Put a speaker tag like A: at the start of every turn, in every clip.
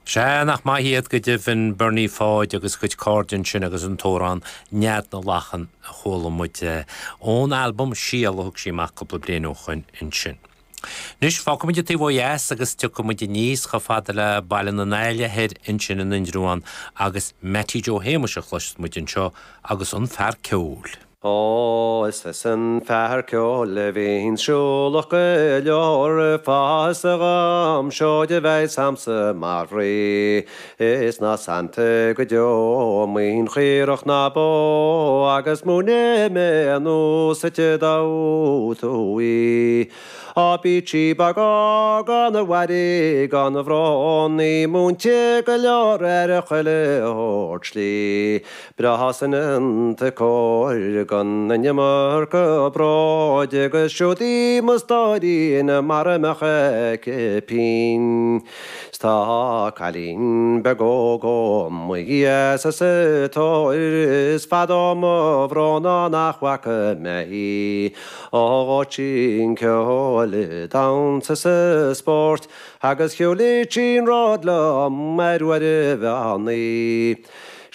A: Sea, nach maith iad go deimhin, Bernie Pháid agus a chuid cairde ansin agus an t-amhrán Nead na Lachan a chuala muid ón albam Síol a thug sí amach cúpla bliain ó shoin ansin. Anois, fágfaidh muid an taobh ó dheas agus tiocfaidh muid aníos chomh fada le Baile na nAille thoir ansin in Indreabhán agus Mattie Joe Shéamuis a chloisfidh muid anseo agus an fear ceoil.
B: Ó, is as an fear ceoil a bhíonn siúlach go leor, fáth is a dham seoid a bheidh a'msa mar bhrí, is ná sannta go deo maoin chaorach ná bó, agus múinfidh mé anuas duit damh tú í. Á bíodh sí beag óg ana mhairí gan bhrón, í múinte go leor ar chuile shórt slí. Breá soineanta cóir gan an iomarca bróid agus siúd í mo stóirín mara mbeadh aici pínn. 'S tá cailín beag óg ó Mhaigh Dheas sa tóir is fada ó mo bhrón ó nach bhfaca mé í. Ó dhóit sí an ceol, damhsa 's spórt agus shiúlaigh sí an ród liom ar uair an mheán oí.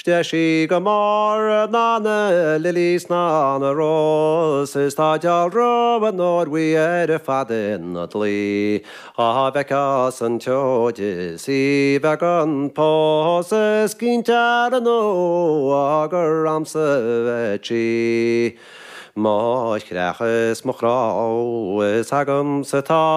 B: 'S deis í go mór ná na lilies ná na roses is tá dealramh an óir bhuí ar fad ina dlaoi. Dhá bhfeicfeá san tseoid is í bheith gan pósadh is cinnte ar ndóigh gur a'msa a bheidh sí. Mo chreach is mo chrá is agamsa atá.